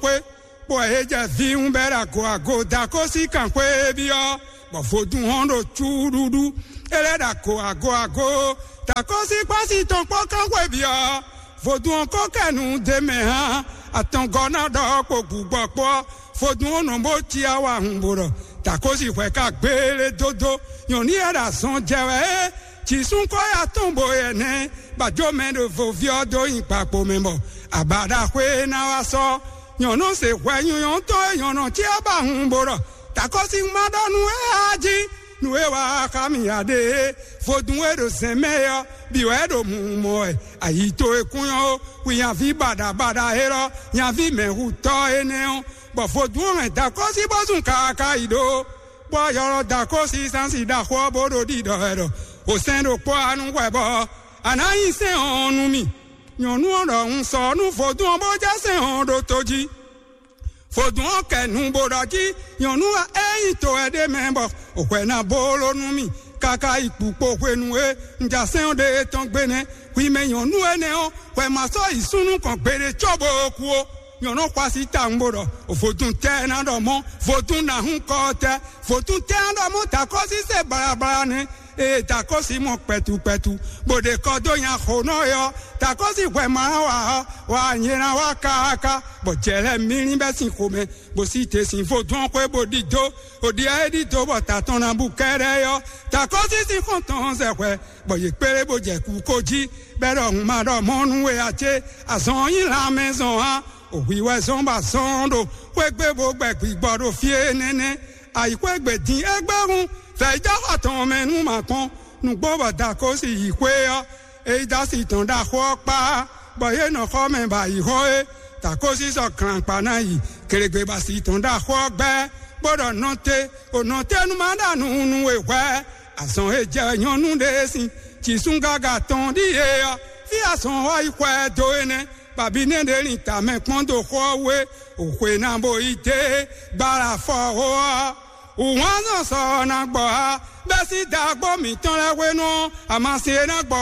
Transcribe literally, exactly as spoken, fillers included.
xwé, bɔ é jɛ vǐwun bɛ́ ɖo ago ago Dakósi kanxwé byɔ́, bɔ vodún hɔn ɖo cúɖuɖu. É lɛ́ ɖo ago ago ago, Dakósi kpási tɔn kpó kanxwé byɔ́. Vodún ɔ́ ko kɛ nǔ d'é mɛ hán, atɔngɔ́ ná ɖɔ kpo gǔgbɔ kpó ɔ́, vodún ɔ́ nɔ bó cí awa hun bó ɖɔ Dakósi hwɛ ka gbélé dódó. Nyɔ̌nu e ɖo azɔn jɛ wɛ é, jǐsún kɔ́ ya tɔn bo yɛ nɛ́, bɔ ajó mɛ ɖo voví ɔ́ dó nyi gbakpo mɛ bɔ abǎ ɖaxó e ná wá sɔ́. Nyɔ̌nu se hwɛ nyɔ̌nyɔ́ tɔn e nyɔ̌nu ce ɔ́ ba hun bó ɖɔ Dakósi ma ɖɔ nú é a jí, nú é wá xá mì ǎ ɖe é. Vodún e ɖo zɛ̌n mɛ é ɔ́, bǐ wɛ ɖo mǔmɔ wɛ. Ayi towe kún nyɔ́ ó, wi nyaví baɖabaɖa élɔ́, nyaví mɛ̌hutɔ́ énɛ́ ɔ́, bɔ vodún ɔ́ hɛn Dakósi bó zun kaaka yi ɖó, bɔ yɔlɔ Dakósi sánsì ɖaxó ɔ́ bó ɖo ɖiɖɔ wɛ ɖɔ: "O sɛn ɖokpó anu hwɛ bɔ a nǎ nyi sɛn ɔ́ nú mì." Nyɔ̌nu ɔ́ ɖɔ: "Un sɔ́ nú vodún ɔ́ bó jɛ sɛn ɔ́ ɖó tó jí." Vodún ɔ́ kɛ nu bó ɖɔ jí nyɔ̌nu ɔ́ é nyí to wɛ ɖ'é mɛ bɔ hwɛ ná bó ló nú mì káká yi kpukpo hwenu e un ja sɛn ɔ́ ɖe tɔn gbe nɛ́. Hwi mɛ nyɔ̌nu énɛ́ ɔ́, hwɛ ma sɔ́ yi súnnu kɔn gbeɖé cóbó kú ó. Nyɔ̌nu xwasi tawun bó ɖɔ: "Vodún tɛ́ ná ɖɔ mɔ̌, vodún ná hún kɔ tɛ́, vodún tɛ́ ná ɖɔ mɔ̌ takɔ́sí se baɖabaɖa nɛ́." Ée takɔ́sí mɔ kpɛtu kpɛtu, bó ɖe kɔ dó nya xo nɔ é ɔ́, takɔ́sí hwɛ ma ná wa ɔ́, wa nyɛ ná wá káká, bɔ jɛ lɛ́ɛ mlí bɛ́ sín xomɛ, bó sí te sín vodún ɔ́ xwé bó ɖidó. Òɖia e ɖidó bɔ ta tɔn ná bú kɛ́ɖɛ́ é ɔ́, takɔ́sí sín xɔ́ntɔn ɔ́ zɛ hwɛ, bɔ yě kplé bó jɛ kú kó jí, bɔ é ɖɔ: "Hun ma ɖɔ mɔ̌ nú we ǎ cé? Azɔn ɔ́ nyí lanmɛzɔn ǎ. Òhwi wɛ zɔ́n bɔ azɔn ɔ́ ɖo xwé gbe bó gbɛ gbǐgbɔ ɖo fí énɛ́ nɛ́. Ayǐxwé gbe din égbé hun vɛ̌yídɔ́xɔ tɔn mɛ nú ma kpɔ́n." Nǔgbó bɔ Dakósi yi xwé ɔ́, é yi dó asi tɔn ɖaxó ɔ́ kpá, bɔ yě nɔ xɔ mɛ bɔ ayǐ hɔ́n é. Takósi sɔ́ glǎnkpa ná yi gelegbebasi tɔn ɖaxó ɔ́ gbɛ́, bó ɖɔ: "Nɔte, o nɔtenu ma ɖa nǔ nú we hwɛ̌?" Azɔn e jɛ nyɔ̌nu ɖé sín jǐsúngaga tɔn ɖíe ɔ́, fí azɔn ɔ́ yi xwɛ dó énɛ́. Babinɛ́ ɖě lin tamɛ kpɔ́n dó xó ɔ́ wú é, o xwe ná bo yi dé gbala fɔ xó ɔ́. Wǔhwánzɔn sɔ ɔ́ ná gbɔ á, bɛ́ sín daagbó mǐtɔn lɛ́ɛ hwenu ɔ́, amasin e ná gbɔ